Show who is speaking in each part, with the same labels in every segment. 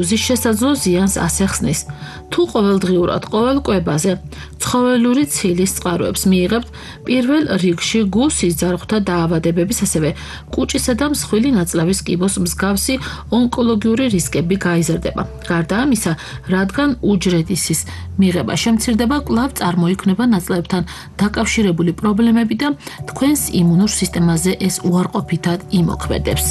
Speaker 1: უსის შესაძლო ზიანს ასეხსნის. თუ ყოველდღიურად ყოველ კვებაზე ცხოველური ცილის წყაროებს მიიღებთ, პირველ რიგში გუსის ძარღვთა დაავადებების, ასევე კუჭისა და მსხვილი ნაწლავის კიბოს მსგავსი ონკოლოგიური რისკები გაიზრდება. გარდა ამისა, რადგან უჯრედისის მიღება შემცირდება, კვლავ წარმოიქმნება ნაწლავებთან დაკავშირებული პრობლემები და თქვენს იმუნურ სისტემაზე ეს უარყოფითად იმოქმედებს.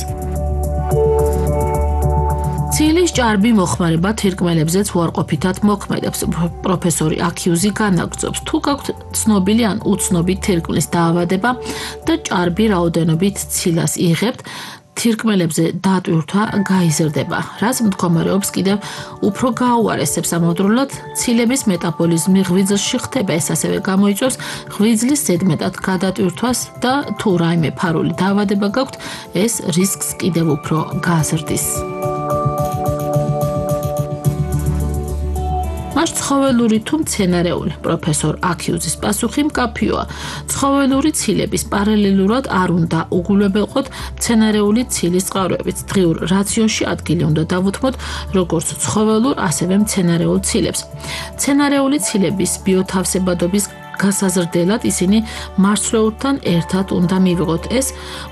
Speaker 1: ცილის ჭარბი მოხმარება თირკმელებზეც უარყოფითად მოქმედებს. პროფესორი აქიუზი განაგრძობს, თუ გაქვთ ცნობილი ან უცნობი თირკმლის დაავადება და ჭარბი რაოდენობით ცილას იღებთ, თირკმელებზე დატვირთვა გაიზრდება, რაც მდგომარეობს კიდევ უფრო გაუარესებს ამავდროულად ცილების მეტაბოლიზმი ღვიძლში ხდება, ეს ასევე გამოიწვევს ღვიძლის ზედმეტად გადატვირთვას და თუ რაიმე ფარული დაავადება გაქვთ, ეს რისკს კიდევ უფრო გაზრდის. მას ცხოველური თუ მცენარეული, პროფესორ აქიუზის პასუხი მკაფიოა. ცხოველური ცილების პარალელურად არ უნდა უგულებელყოთ მცენარეული ცილის წყაროებით. დღიურ რაციონში ადგილი უნდა დავუთმოთ როგორც ცხოველურ, ასევე მცენარეულ ცილებს. მცენარეული ცილების ბიოთავსებადობის გასაზრდელად ისინი მარცვლეულთან ერთად უნდა მივიღოთ. ეს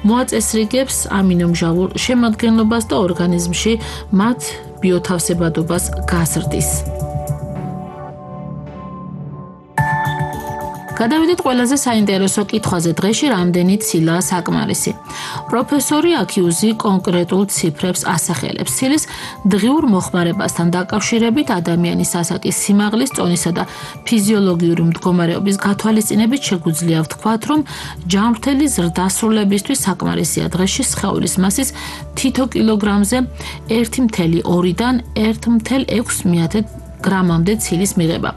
Speaker 1: მოაწესრიგებს ამინომჟავურ შემადგენლობას და ორგანიზმში მათ ბიოთავსებადობას გაზრდის. გადავიდეთ ყველაზე საინტერესო კითხვაზე. დღეში რამდენი ცილაა საკმარისი? პროფესორი აქიუზი კონკრეტულ ციფრებს ასახელებს. ცილის დღიურ მოხმარებასთან დაკავშირებით ადამიანის ასაკის, სიმაღლის, წონისა და ფიზიოლოგიური მდგომარეობის გათვალისწინებით შეგვიძლია ვთქვათ, რომ ჯანმრთელი ზრდასრულებისთვის საკმარისია დღეში სხეულის მასის თითო კილოგრამზე 1,2-დან 1,6 გრამამდე ცილის მიღება.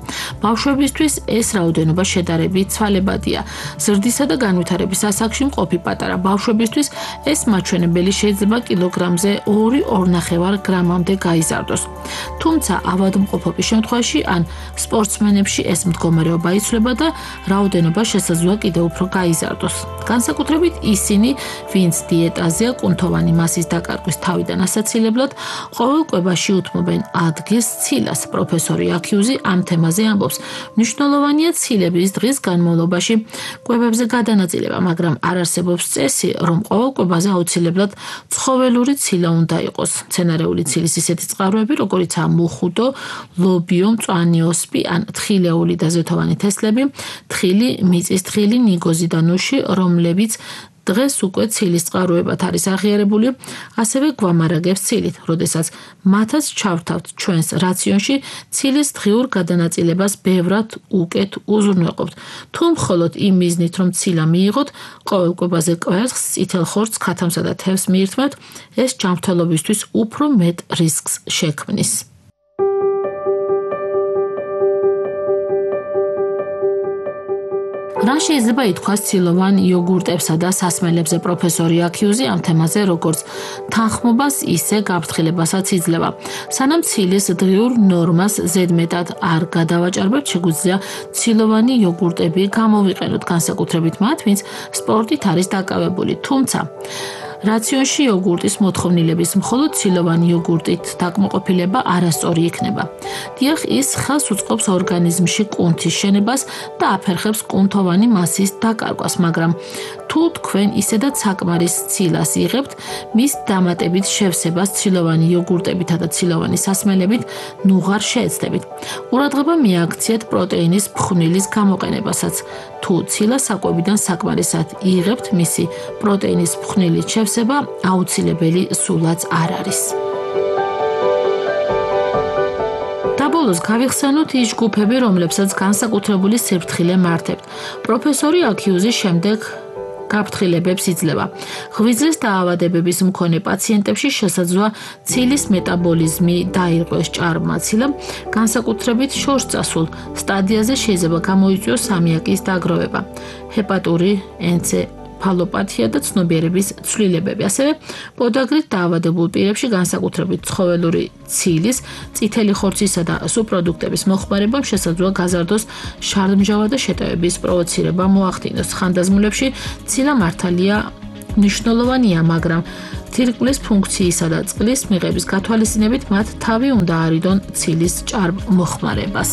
Speaker 1: ბავშვებისთვის ეს რაოდენობა შედარებით ცვალებადია. ზრდისა და განვითარების ასაკში მყოფი პატარა ბავშვებისთვის ეს მაჩვენებელი შეიძლება კილოგრამზე 2-2,5 გრამამდე გაიზარდოს. თუმცა ავადმყოფობის შემთხვევაში ან სპორტსმენებში ეს მდგომარეობა იცვლება და რაოდენობა შესაძლოა კიდევ უფრო გაიზარდოს. განსაკუთრებით ისინი, ვინც დიეტაზეა, კუნთოვანი მასის დაკარგვის თავიდან ასაცილებლად, ყოველ კვებაში უთმობენ ადგილს ცილას. პროფესორი აქიუზი ამ თემაზე ამბობს. მნიშვნელოვანია ცილების დღის განმავლობაში კვებებზე გადანაწილება, მაგრამ არ არსებობს წესი, რომ ყოველ კვებაზე აუცილებლად ცხოველური ცილა უნდა იყოს. მცენარეული ცილის ისეთი წყაროები, როგორიცაა მუხუდო, ლობიო, მწვანე ოსპი ან თხილეული და ზეთოვანი თესლები, თხილი, მიწის თხილი, ნიგოზი და ნუში, რომლებიც დღეს უკვე ცილის წყაროებად არის აღიარებული, ასევე გვამარაგებს ცილით, როდესაც მათაც ჩავთავთ ჩვენს რაციონში, ცილის დღიურ გადანაწილებას ბევრად უკეთ უზრუნველყოფთ. თუ მხოლოდ იმ მიზნით, რომ ცილა მიიღოთ, ყოველ კვებაზე კვერცხს, წითელ ხორცს, ქათამსა და თევზს მიირთმევთ, ეს ჯანმრთელობისთვის უფრო მეტ რისკს შექმნის. რა შეიძლება ითქვას ცილოვან იოგურტებსა და სასმელებზე? პროფესორი აქიუზი ამ თემაზე როგორც თანხმობას, ისე გაფრთხილებასაც იძლევა. სანამ ცილის დღიურ ნორმას ზედმეტად არ გადავაჭარბებთ, შეგვიძლია ცილოვანი იოგურტები გამოვიყენოთ, განსაკუთრებით მათ, ვინც სპორტით არის დაკავებული. თუმცა რაციონში იოგურტის მოთხოვნილების მხოლოდ ცილოვანი იოგურტით დაკმაყოფილება არასწორი იქნება. დიახ, ის ხელს უწყობს ორგანიზმში კუნთის შენებას და აფერხებს კუნთოვანი მასის დაკარგვას, მაგრამ თუ თქვენ ისედაც საკმარის ცილას იღებთ, მის დამატებით შევსებას ცილოვანი იოგურტებითა და ცილოვანი სასმელებით ნუღარ შეეცდებით. ყურადღება მიაქციეთ პროტეინის ფხვნილის გამოყენებასაც. თუ ცილა საკვებიდან საკმარისად იღებთ, მისი პროტეინის ფხვნილით შევსება აუცილებელი სულაც არ არის. ბოლოს გავიხსენოთ ის ჯგუფები, რომლებსაც განსაკუთრებული სიფრთხილე მართებთ. პროფესორი აქიუზი შემდეგ გაფრთხილებებს იძლევა. ღვიძლის დაავადებების მქონე პაციენტებში შესაძლოა ცილის მეტაბოლიზმი დაირღვეს ჭარბმა ცილამ, განსაკუთრებით შორსწასულ სტადიაზე შეიძლება გამოიწვიოს ამიაკის დაგროვება, ჰეპატური ენცეფალოპათია და ცნობიერების ცვლილებები. ასევე პოდაგრით დაავადებულ პირებში განსაკუთრებით ცხოველური ცილის, წითელი ხორცისა და სუბპროდუქტების მოხმარებამ შესაძლოა გაზარდოს შარდმჟავა და შეტევების პროვოცირება მოახდინოს. ხანდაზმულებში ცილა მართალია მნიშვნელოვანია, მაგრამ თირკმლის ფუნქციისა და წყლის მიღების გათვალისწინებით მათ თავი უნდა არიდონ ცილის ჭარბ-მოხმარებას.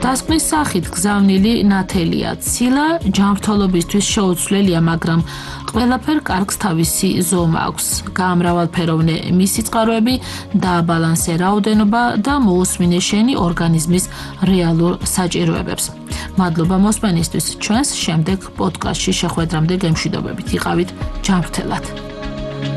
Speaker 1: დასკვნის სახით გზავნილი ნათელია ცილა ჯანმრთელობისთვის შეუცვლელია, მაგრამ ყველაფერ კარგს თავისი ზომა აქვს. გაამრავალფეროვნე მისი წყაროები, დააბალანსე რაოდენობა და მოусმინე შენი ორგანიზმის რეალურ საჭიროებებს. მადლობა მოსმენისთვის. ჩვენს შემდეგ პოდკასტში შეხვედრამდე გემშვიდობებით. იყავით ჯანმრთელად.